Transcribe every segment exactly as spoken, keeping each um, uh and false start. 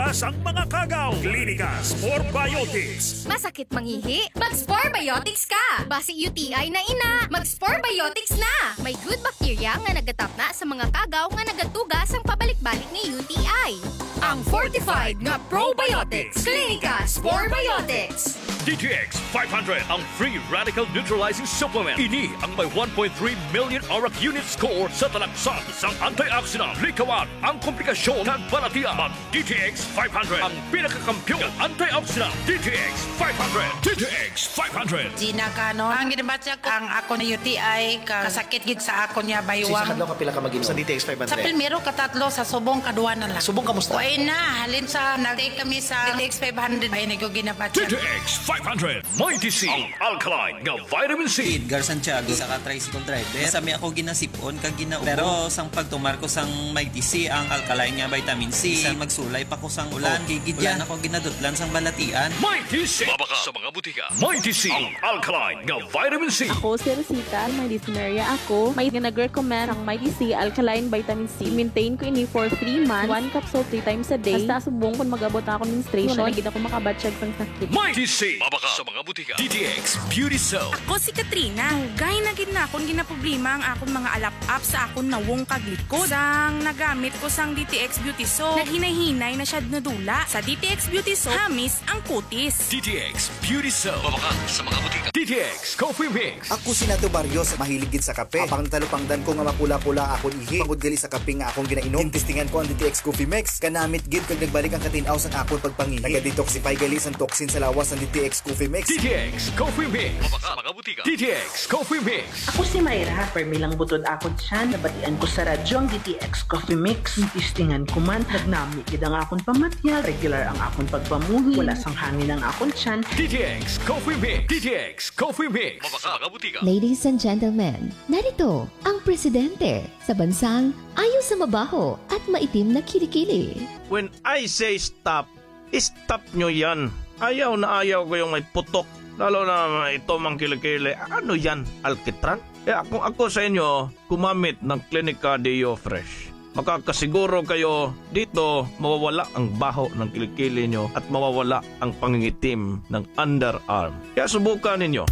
sang mga kagaw. Klinika Spore Biotics. Masakit mangihi? Mag-Spore Biotics ka! Basi U T I na ina, mag-Spore Biotics na! May good bacteria nga nagatapna sa mga kagaw nga nagatuga sang pabalik-balik nga U T I. Ang fortified nga probiotics, Klinika Spore Biotics. D T X five hundred, ang free radical neutralizing supplement. Ini ang may one point three million arak unit score sa talaksan sang antioxidant. Likawan ang komplikasyon kag balatian. Mag D T X five hundred, ang pinakakampiyon nga antioxidant. D T X five hundred. D T X five hundred. Gina Canon. Ang ginabatyag ang ako na U T I, ka-, kasakit gid sa akon niya baywang. Sa kadlaw ka pila ka mag-inom? Sa D T X five hundred. Sa primero, katatlo, sa subong, kadua na lang. Subong, kamusta? Way na, halin sa nag-take kami sa D T X five hundred, ay, naguginabatyag. D T X five hundred. Mighty C, ang alkaline nga vitamin C. Edgar Santiago, isa ka tricycle driver. Sa mi ako ginasipon kag ginaubo. Pero sang pagtumar ko sang Mighty C, ang alkaline nga vitamin C, bisan magsulay pa ko sang ulan, okay gid yan. Wala na ko ginadutlan sang balatian. Mighty C. Mabaka sa mga butika. Mighty C, ang alkaline nga vitamin C. Ako si Rosita, may dysuria ako. May nga nag-recommend sang Mighty C alkaline vitamin C. Maintain ko ini for three months. One capsule three times a day. Hasta subong kon mag-abot na akong menstruation, wala na gid ako makabatyag sang sakit. Mighty C. Mabaka sa mga butika. D T X Beauty Soap. Ako si Katrina. Dugay na gid na akon ginaproblema ang akon mga alap-ap sa akon nawong kag likod. Sang nagamit ko sang D T X Beauty Soap, naghinay-hinay na siya nadula. Sa D T X Beauty Soap, hamis ang kutis. D T X Beauty Soap. Mabakal sa mga butika. D T X Coffee Mix. Ako si Nato Barrios, mahilig gid sa kape. Apang natalupangdan ko nga mapula-pula akon ihi tungod gali sa kape nga akong ginainom. Gintistingan ko ang D T X Coffee Mix. Kanamit gid kag nagbalik ang katin-aw sang akon pagpangihi. Naga-detoxify gali sang toxin sa lawas ang D T X Coffee Mix. D T X Coffee Mix. Mabakal sa mga butika. D T X Coffee Mix. Ako si Myra, permi lang butod akon tiyan. Nabatian ko sa radyo ang D T X Coffee Mix. Gintistingan ko man, nagnami gid ang akon pamatyag, regular ang akon pagpamuhi, wala sang hangin ang akon tiyan. D T X Coffee Mix. D T X Coffee Mix. Mabakal sa mga butika. Ladies and gentlemen, narito ang presidente sa bansang ayo sa mabaho at maitim na kilikili. When I say stop, stop nyo yan. Ayaw na ayaw ko yung may putok. Lalo na ito mang kilikili. Ano yan? Alkitran? Kaya kung ako sa inyo, gumamit ng Clinica Deo Fresh. Makakasiguro kayo dito mawawala ang baho ng kilikili nyo at mawawala ang pangingitim ng underarm. Kaya subukan ninyo.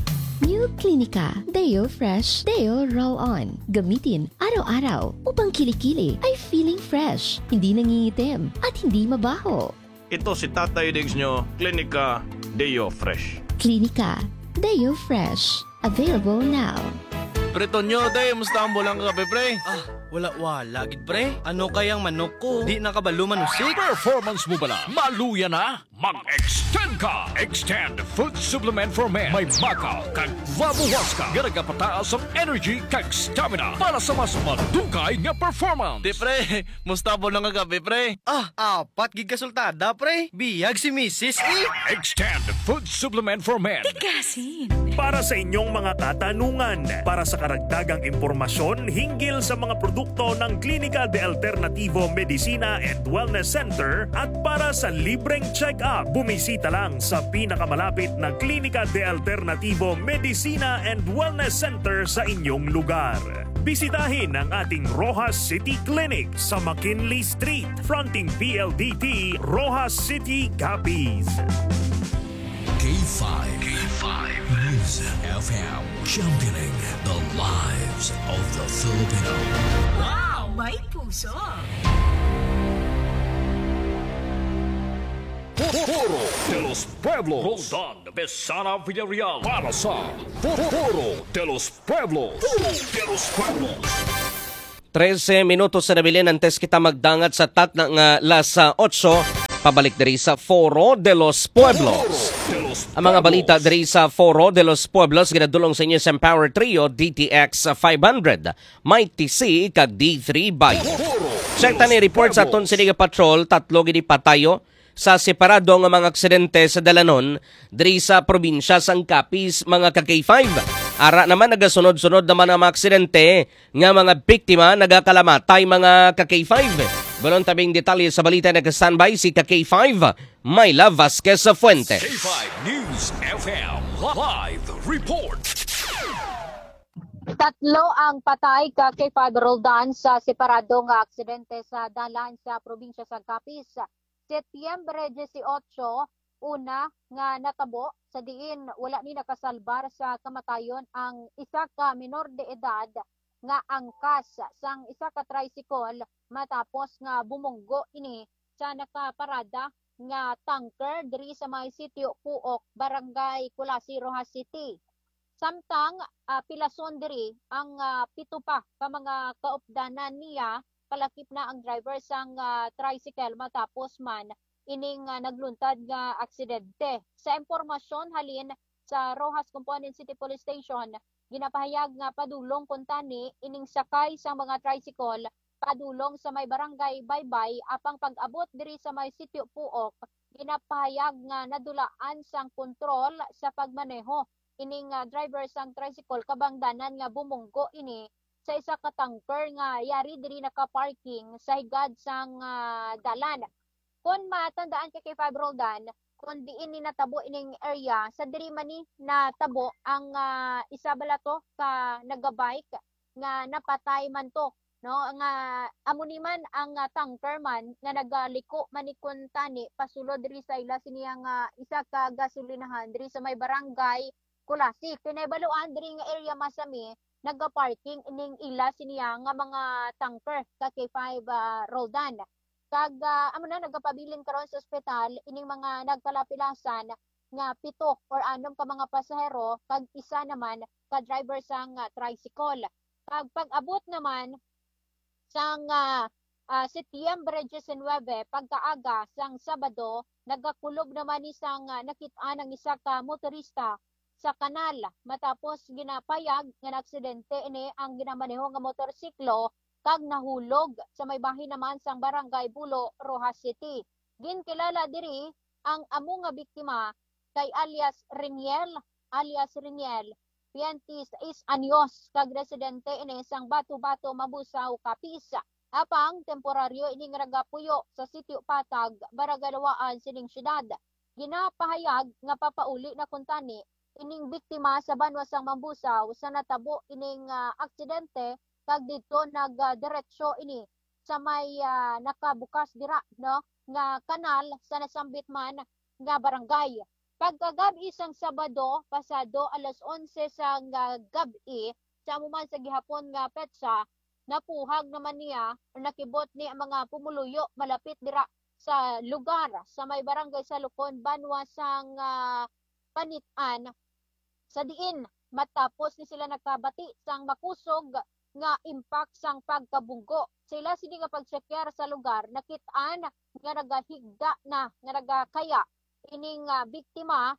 New Clinica Deo Fresh Deo Roll On. Gamitin araw-araw upang kilikili ay feeling fresh, hindi nangingitim, at hindi mabaho. Ito si Tatay Diggs nyo, Clinica Deo Fresh. Clinica Deo Fresh. Available now. Pre Tonyo, day, musta ang bulang kagabi, pre? Ah, wala-wala gid, pre. Ano kayang manok ko? Di na kabalo manusik. Performance mo bala? Maluya na? Mag-extend ka! Extend Food Supplement for Men. May makal kag labuhas ka nga nagapataas ang energy kag stamina para sa mas madugay nga performance. Di, pre, musta ang bulang kagabi, pre? Ah, apat gid ka sultada, pre. Biyag si misis, eh. Extend Food Supplement for Men. Tigasin. Para sa inyong mga katanungan, para sa karagdagang impormasyon hinggil sa mga produkto ng Klinika de Alternativo Medicina and Wellness Center at para sa libreng check-up, bumisita lang sa pinakamalapit na Klinika de Alternativo Medicina and Wellness Center sa inyong lugar. Bisitahin ang ating Roxas City Clinic sa McKinley Street, fronting P L D T, Roxas City, Capiz. K five. K five News F M, championing the lives of the Filipino. Wow! May puso! Foro de los Pueblos. Roldan Besana Villarreal para sa Foro de los Pueblos. Foro de los Pueblos. Trese minutos na nabilin antes kita magdangat sa takna nga las otso. Pabalik diri sa Foro de los Pueblos. Ang mga balita diri sa Foro de los Pueblos ginadulong sa inyo sa Empower Trio, D T X five hundred, Mighty C, kag D three Bio. Check ta ni report sa aton sini nga patrol, tatlo gid patayo sa separado nga mga aksidente sa dalanon diri sa probinsya sang Capiz, mga ka K five. Ara naman, nagasunod-sunod naman ang mga aksidente nga mga biktima nagakalamatay, mga ka K five. Balon tabing detalye sa balita, naka-standby si ka K five, Myla Vasquez Fuentes. K five News F M live report. Tatlo ang patay ka K five Roldan sa separado nga aksidente sa dalan sa probinsya sa Capiz. Setyembre dieciocho, una nga natabo sa diin wala ni nakasalbar sa kamatayon ang isa ka menor de edad nga angkas sang isa ka tricycle matapos nga bumunggo ini sa nakaparada nga tanker diri sa may Sitio Puok, Barangay Culasi, Roxas City. Samtang, ah, pilason diri ang, ah, pito pa ka mga kaupdanan niya, palakip na ang driver sang, ah, tricycle matapos man ining, ah, nagluntad nga aksidente. Sa impormasyon halin sa Roxas Component City Police Station, ginapahayag nga padulong kuntani ining sakay sang mga tricycle padulong sa may barangay Baybay, apang pag-abot diri sa may Sitio Puok, ginapahayag nga nadulaan sang kontrol sa pagmaneho ining, ah, driver sang tricycle, kabangdanan nga bumunggo ini sa isa ka tanker nga yari diri naka-parking sa higad sang, ah, dalan. Kon matandaan ka kay Five Roldan, kung diin ni natabo ining area, sa diri man ni natabo ang, ah, isa bala to ka nagabike nga napatay man to, no? Nga amo ni man ang, ah, tanker man nga nagaliko man ni kuntani pasulod diri sa ila siniya nga isa ka gasolinahan diri sa may barangay Culasi. Kay nahibaluan diri nga area masami nagaparking ining ila siniya nga mga tanker ka K five, ah, Roldan. Kag, ah, amo na, nagapabilin karon sa ospital ining mga nagkalapilasan nga pito or anom ka mga pasahero kag isa naman ka driver sang, ah, tricycle. Kag pag-abot naman sang, ah, ah, Setyembre diecinuebe, pagkaaga sang Sabado, nagakulob naman ni sang, ah, nakit-an ang isa ka motorista sa kanal matapos ginapayag nga naaksidente ini ang ginamaneho nga motorsiklo kag nahulog sa may bahin naman sang Barangay Bulo, Roxas City. Ginkilala diri ang amo nga biktima kay alias Reniel, alias Reniel, twenty-six anyos, kag residente ini sang Bato-Bato, Mambusao, Capiz. Apang temporaryo ini nga nagapuyo sa Sitio Patag, Barangay Lawaan sining siyudad. Ginapahayag nga papauli na kuntani ining biktima sa banwa sang Mambusao sa natabo ining, ah, aksidente, kag didto nagdiretso ini sa may, ah, nakabukas dira, no, nga kanal sa nasambit man nga barangay. Pagkagab-i sang Sabado, pasado alas onse sang, ah, gab-i, sa amo man sa gihapon nga petsa, napuhag naman niya o nakibot ni ang mga pumuluyo malapit dira sa lugar sa may barangay Salukon, banwa sang, ah, Panit-an, sa diin matapos ni sila nakabati sang makusog nga impact sang pagkabunggo. Sa ila sini nga pagtsekyar sa lugar, nakit-an nga nagahigda na nga nagakaya ining, ah, biktima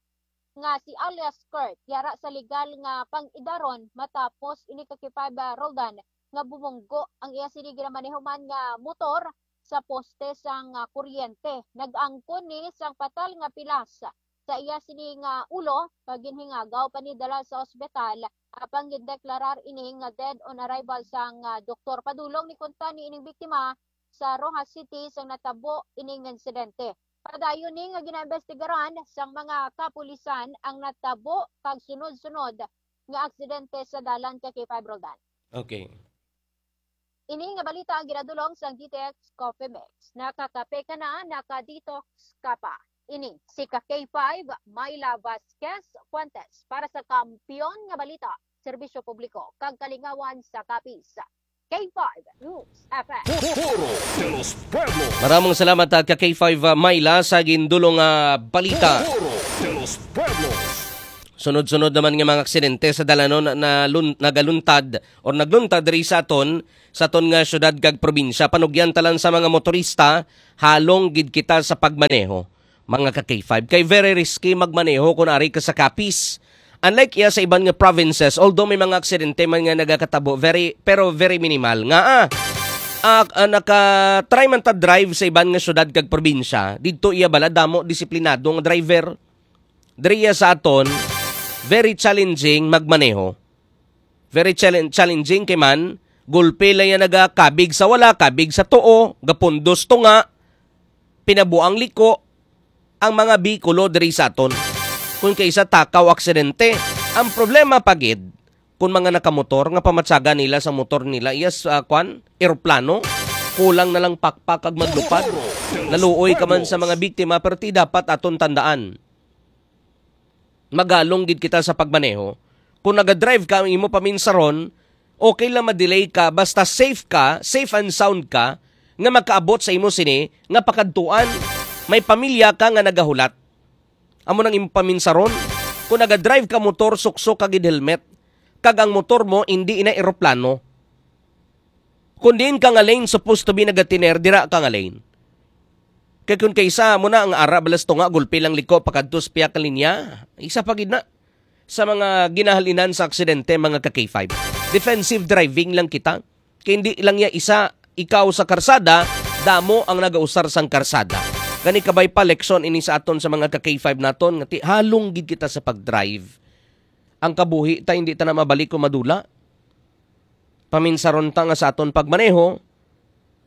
nga si alias Kurt, yara sa legal nga pang-idaron matapos ini ka K five, ah, Roldan nga bumunggo ang iya sini ginamaneho man nga motor sa poste sang, ah, kuryente. Nag-angkon ni sang patal nga pilas sa iya sini nga ulo, kag ginhingagaw pa ni dala sa ospital, apang gindeklarar ini nga dead on arrival sang, ah, doktor. Padulong ni kuntani ining biktima sa Roxas City sang natabo ining insidente. Padayon ni nga ginaimbestigaran sang mga kapulisan ang natabo kag sunod-sunod nga aksidente sa dalan ka K five Roldan. Okay. Ini nga balita ang ginadulong sang D T X Coffee Mix. Nakakape ka na, naka-detox ka pa. Ini si ka K five, Myla Vasquez Fuentes para sa Kampiyon nga Balita, Serbisyo Publiko, kag Kalingawan sa Capiz. K five News F M. Foro de los Pueblos. Maraming salamat, ah, ka K five, ah, Myla, sa gindulong, ah, balita. Foro de los Pueblos. Sunod-sunod naman nga mga aksidente sa dalanon na lun-, nagaluntad or nagluntad diri sa aton, sa aton nga syudad kag probinsya. Panugyan ta lang sa mga motorista, halong gid kita sa pagmaneho, mga ka K five. Kay very risky magmaneho kung ari ka sa Capiz. Unlike iya sa iban nga provinces, although may mga aksidente man nga nagakatabo, very, pero very minimal. Nga, ah, ah, ah, naka-try man ta drive sa iban nga syudad kag probinsya, didto iya bala damo disiplinado nga driver. Diri iya sa aton, very challenging magmaneho. Very challenge-, challenging kay man, gulpi lang yan nagakabig sa wala, kabig sa tuo, gapundos tunga, pinabuang liko, ang mga Bicolo diri sa aton. Kung kaysa takaw aksidente, ang problema pa gid, kung mga nakamotor nga pamatsaga nila sa motor nila, yes, ah, kwan, eroplano, kulang na lang pakpak kag maglupad. Naluoy ka man sa mga biktima, pero ti dapat aton tandaan, magalong gid kita sa pagmaneho. Kung nagadrive ka ang imo paminsaron, okay lang ma-delay ka, basta safe ka, safe and sound ka, nga makaabot sa imo sini nga pakadtuan. May pamilya ka nga nagahulat. Amo nang imo paminsaron. Kung nagadrive ka motor, suksok ka gid helmet. Kag ang motor mo, hindi ina eroplano. Kung diin ka nga lane supposed to be nagatiner, dira ka nga lane. Kay kung kaysa mo na ang ara balas tunga, gulpi lang liko pakadto sa piyak linya, isa pa gid na sa mga ginahalinan sa aksidente, mga ka K five. Defensive driving lang kita. Kay hindi lang ya isa, ikaw sa karsada, damo ang nagausar sang karsada. Kani kabay pa, leksyon ini sa aton sa mga ka K five naton, nga ti-, halong gid kita sa pag-drive. Ang kabuhi ta, hindi ta na mabalik kung madula. Paminsaron ta nga sa aton pagmaneho,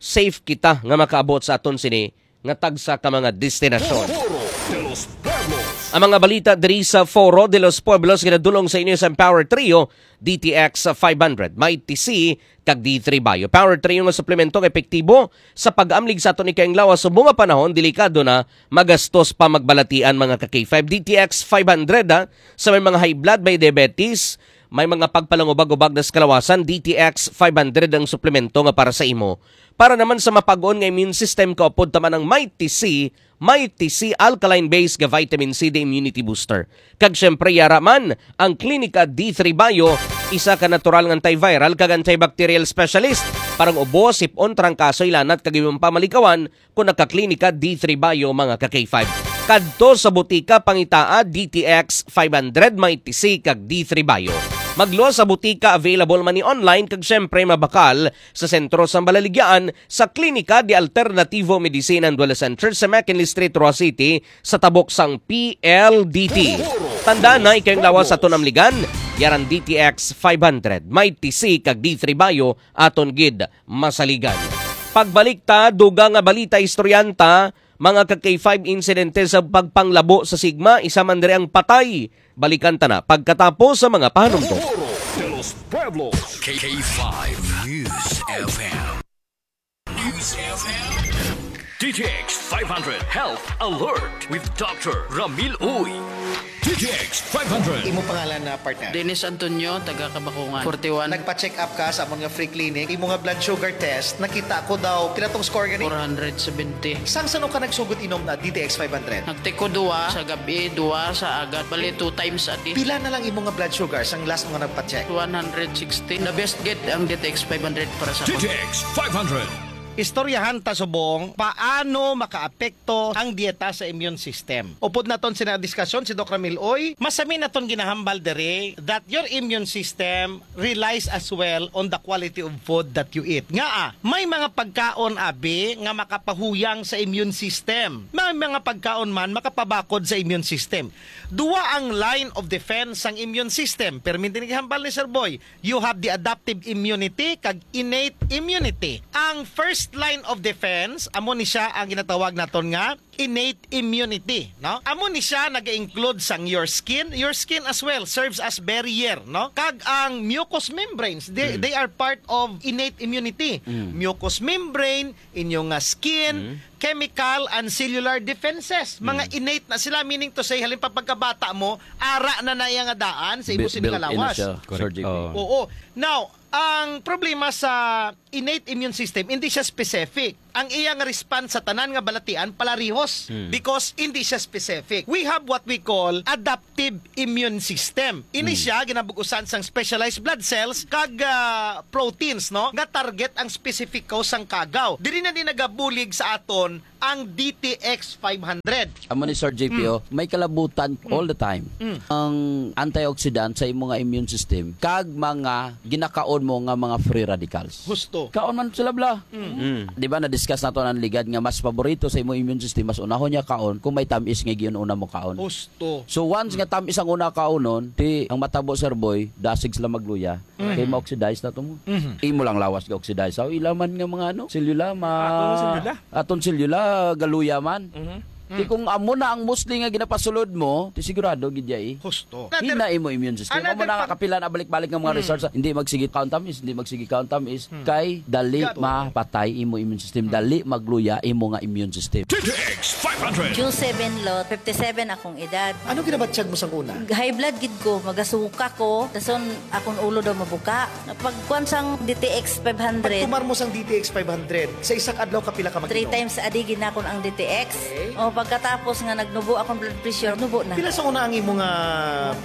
safe kita nga makaabot sa aton sini nga tagsa ka mga destinasyon. Foro de los Pueblos. Ang mga balita diri sa Foro de los Pueblos ginadulong sa inyo sa Empower Trio, D T X five hundred, Mighty C, kag D three Bio. Power Trio nga suplemento nga epektibo sa pag-amlig sa aton ikayang lawas subong nga panahon delikado na, magastos pa magbalatian, mga ka K five. D T X five hundred, ha, sa may mga high blood, may diabetes, may mga pagpalangubag-ubag na sa kalawasan, D T X five hundred ang suplemento nga para sa imo. Para naman sa mapag-on nga immune system, kaupod ta man ang Mighty C, Mighty C alkaline base nga vitamin C D immunity booster. Kag siyempre, yara man ang Klinika D three Bio, isa ka natural nga antiviral kag antibacterial specialist para ang ubo, sip-on, trangkaso, ilanat kag iban pa malikawan, kung nagka-Klinika D three Bio, mga ka K five. Kadto sa butika, pangitaa D T X five hundred, Mighty C, kag D three Bio. Magluwas sa butika, available man ni online, kag siyempre mabakal sa sentro sang Balaligyaan sa Klinika de Alternativo Medicine and Wellness Center sa McKinley Street, Roxas City, sa tabok sang P L D T. Tandaan na, ikayong lawas sa tunamligan, yaran D T X five hundred, Mighty C, kag D three Bio, aton gid masaligan. Pagbalik ta, dugang nga balita, istoryanta, mga ka K five, insidente sa pagpanglabo sa sigma, isa man diri ang patay. Balikan ta na pagkatapos sa mga pahanumdom. Foro de los Pueblos. K five News F M. News F M. D T X five hundred Health Alert with Doctor Ramil Uy. D T X five hundred. Imo pangalan na partner? Dennis Antonio, taga Kabakungan, forty-one. Nagpa-check up ka sa amon nga free clinic. Imo nga blood sugar test, nakita ko daw, pila tong score gani? Four hundred seventy. Sang sano ka nagsugod inom na D T X five hundred? Nagtiko duwa sa gabi, duwa sa agad. Bali, two times a day. Pila na lang imo nga blood sugar sang last mo nga nagpa-check? One hundred sixteen. The best gid ang D T X five hundred para sa D T X five hundred. Istoryahan ta subong paano makaapekto ang dieta sa immune system. Upod naton sina diskasyon si Doc Ramil Uy, masami naton ginahambal diri that your immune system relies as well on the quality of food that you eat. Ngaa, may mga pagkaon, abi, nga makapahuyang sa immune system. May mga pagkaon man makapabakod sa immune system. Dua ang line of defense sang immune system. Permi din gihambal ni Sir Boy. You have the adaptive immunity kag innate immunity. Ang first line of defense, amo ni siya ang ginatawag naton nga innate immunity, no? Amo ni siya nag-include sang your skin. Your skin as well serves as barrier, no? Kag ang mucous membranes, they, Mm. they are part of innate immunity. Mm. Mucous membrane, inyo nga skin, Mm. chemical and cellular defenses. Mga Mm. innate na sila, meaning to say, halimbawa pagkabata mo, ara na na iya nga daan sa imo Bi-, sini nga built in na lawas. siya, Correct. Sir J P. Oo. Oo. Now, ang problema sa innate immune system, hindi siya specific. Ang iyang response sa tanan nga balatian palarihos Hmm. because hindi siya specific. We have what we call adaptive immune system. Ini Hmm. siya ginabug-usan sang specialized blood cells kag, ah, proteins, no, nga target ang specific cause sang kagaw. Diri na ni nagabulig sa aton ang D T X five hundred. Amo ni Sir J P, Mm. oh, may kalabutan Mm. all the time. Mm. Ang antioxidant sa imong nga immune system kag mga ginakaon mo nga mga free radicals. Husto. Kaon man sila, bla. Mm. Mm. Di ba, na-discuss nato ang ligad nga mas paborito sa imong immune system, mas unahon niya kaon kung may tamis nga giun-una mo kaon. Husto. So, once nga tamis ang una kaunon, ti ang matabo, Sir Boy, dasig sila magluya. Mhm. Kay ma-oxidize na to mo. Mhm. Imo lang lawas ga-oxidize. Sa ila man nga mga ano, selula, ma-, Aton selula. aton selula, galuya man. Mhm. Ti kung amo na ang mostly nga ginapasulod mo, ti sigurado gid ya eh. Husto. Hina imo immune system. Amo na nga kapila na balik-balik nga mga research, hindi magsigi count tamis, hindi magsigi count tamis, kay dali mapatay imo immune system, dali magluya imo nga immune system. T T X five hundred. June seven, Lot, fifty-seven akong edad. Ano ginabatyag mo sang una? High blood gid ko, magasuka ko, dason akong ulo daw mabuka. Pagkuan sang D T X five hundred. Pagtumar mo sang D T X five hundred, sa isa ka adlaw kapila ka mag-inom? Three times a day ginakon ang D T X. Okay. O pagkatapos nga nagnubo akong blood pressure, nubo na. Pila sa una ang imo nga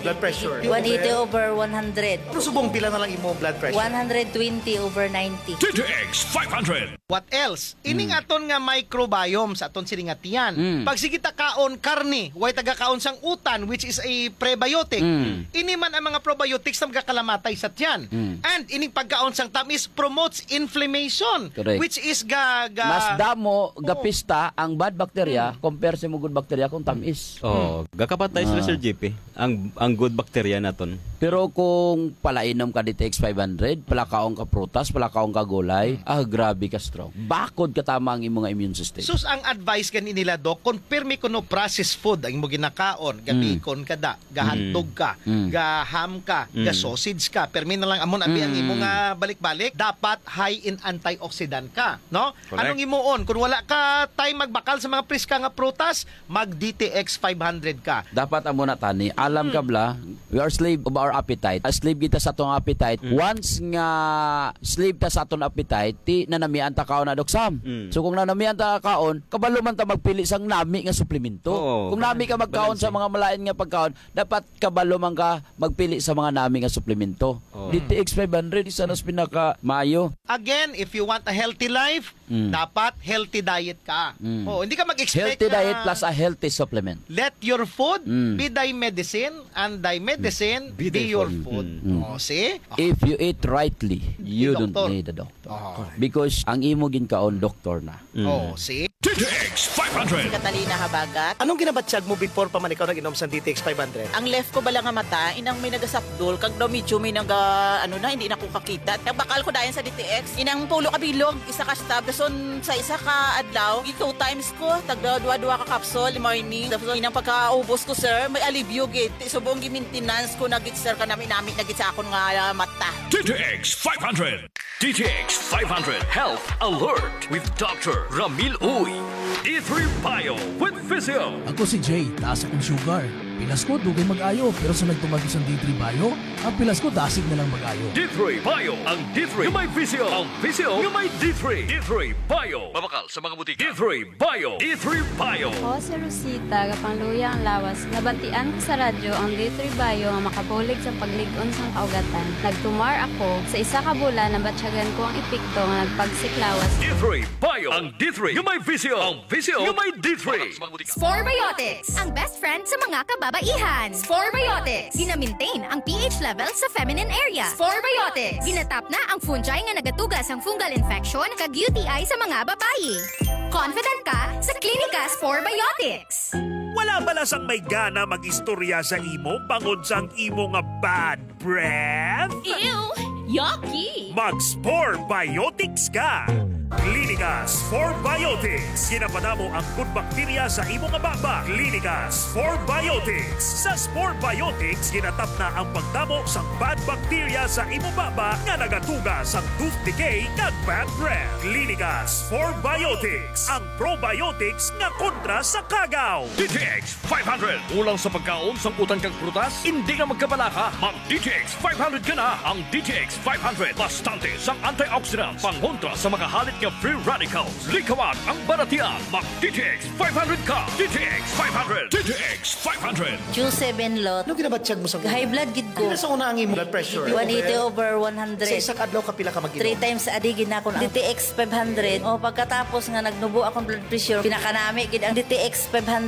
blood pressure? One eighty over one hundred. Ano subong pila na lang imo blood pressure? One hundred twenty over ninety. T T X five hundred. What else? Ining aton nga microbiome sa aton sini nga tiyan. Mm. Pag sige ta kaon karne, way taga kaon sang utan, which is a prebiotic. Mm. Ini man ang mga probiotics na magakalamatay sa tiyan. Mm. And ining pagkaon sang tamis promotes inflammation, correct, which is ga, ga Mas damo, oh, gapista ang bad bacteria compare sa mga good bacteria kung tamis. Oh, gakapatay sila, ah, Sir J P. Ang ang good bacteria naton. Pero kung palainom ka D T X five hundred, palakaon ka prutas, palakaon ka gulay, ah, grabe ka strong. Bakod ka tama ang imong immune system. Sus, ang advice gani nila, Doc, kung pirmi kuno processed food ang imo ginakaon, gabikon ka da, gahantog ka, gaham ka, gasausage ka, pirmi na lang amo na abi ang imo nga balik-balik, dapat high in antioxidant ka, no? Correct. Anong imuon? Kung wala ka time magbakal sa mga priska nga prutas, mag D T X five hundred ka. Dapat amo na tani. Alam ka bala, we are slave of our appetite. A slave kita sa atong appetite. Mm. Once nga slave ta sa atong appetite, ti nanamian ta kaon na, Doc Sam. Mm. So kung nanamian ta kaon, kabalo man ta magpili sang nami nga suplemento. Oo, kung nami ka magkaon sa mga malain nga pagkaon, dapat kabalo man ka magpili sa mga nami nga suplemento. Oo. D T X five hundred, isa na sa pinaka maayo. Again, if you want a healthy life, mm, dapat healthy diet ka. Mm. Oh, hindi ka mag-expect healthy na diet plus a healthy supplement. Let your food, mm, be thy medicine and thy medicine be your food. Mm. Oh, see? If you eat rightly, you don't need a doctor. Oh. Because ang imo ginkaon, doktor na. Mm. Oh, see? D T X five hundred. Si Catalina Habagat. Anong ginabatyag mo before pa man ikaw nag-inom sa D T X five hundred? Ang left ko bala nga mata, inang may nagasapdol, kag daw medyo may naga, ano na, hindi na ko kakita. Nagbakal ko dayon sa D T X. Inang pulo ka bilog, isa ka stab. Dason sa isa ka adlaw, gi two times ko, tagda duha-duha ka capsule, morning. Dason inang pagkaubos ko, sir, may alibyo gid. Ti subong gi-maintenance ko na gid, sir, kanami-nami na gid sa akon nga, ah, mata. D T X five hundred. D T X five hundred Health Alert with Doctor Ramil Uy. D three Bio with Physio. Ako si Jay, taas akong sugar. Pilas ko, dugay mag-ayo, pero sa nagtumag isang D three Bio, ang pilas ko dasig na lang mag-ayo. D three Bio, ang D three nga may Physio, ang Physio nga may D three. D three Bio. Mabakal sa mga butika. D three Bio. D three Bio. Ako si Rosita, gapangluya ang lawas. Nabatian ko sa radyo ang D three Bio nga makabulig sa paglig-on sang kaugatan. Nagtumar ako. Sa isa ka bulan, nabatyagan ko ang epekto nga nagpagsik lawas. D three Bio. Ang D three nga may Physio. Ang Physio nga may D three. Spore Biotics, ang best friend sa mga kababaihan. Spore Biotics. Gina-maintain ang pH level sa feminine area. Spore Biotics. Ginatap na ang fungi nga nagatuga sang fungal infection kag U T I sa mga babayi. Confident ka sa Clinica Spore Biotics. Wala bala sang may gana mag-istorya sa imo bangod sang imo nga bad breath? Ew! Yucky! Mag-Spore Biotics ka! Clinica Spore Biotics. Ginapadamo ang good bacteria sa imo nga baba. Clinica Spore Biotics. Sa Spore Biotics, ginatap na ang pagdamo sang bad bacteria sa imo baba nga nagatuga sang tooth decay kag bad breath. Clinica Spore Biotics, ang probiotics nga kontra sa kagaw. D T X five hundred. Kulang sa pagkaon sang utan kag prutas? Hindi na magkabalaka. Mag D T X five hundred ka na. Ang D T X five hundred, bastante sang antioxidants, pangontra sa mga halit nga free radicals. Likawan ang balatian. Mag D T X five hundred ka. D T X five hundred. D T X five hundred. June seven, Lot. Ano ginabatyag mo sa una? High blood gid ko. Pila sa una ang imo blood pressure? One eighty over one hundred. Sa isa ka adlaw, kapila ka mag-inom? Three times a day ginakon ang D T X five hundred. O, pagkatapos nga nagnubo akong blood pressure, pinakanami gid ang D T X five hundred.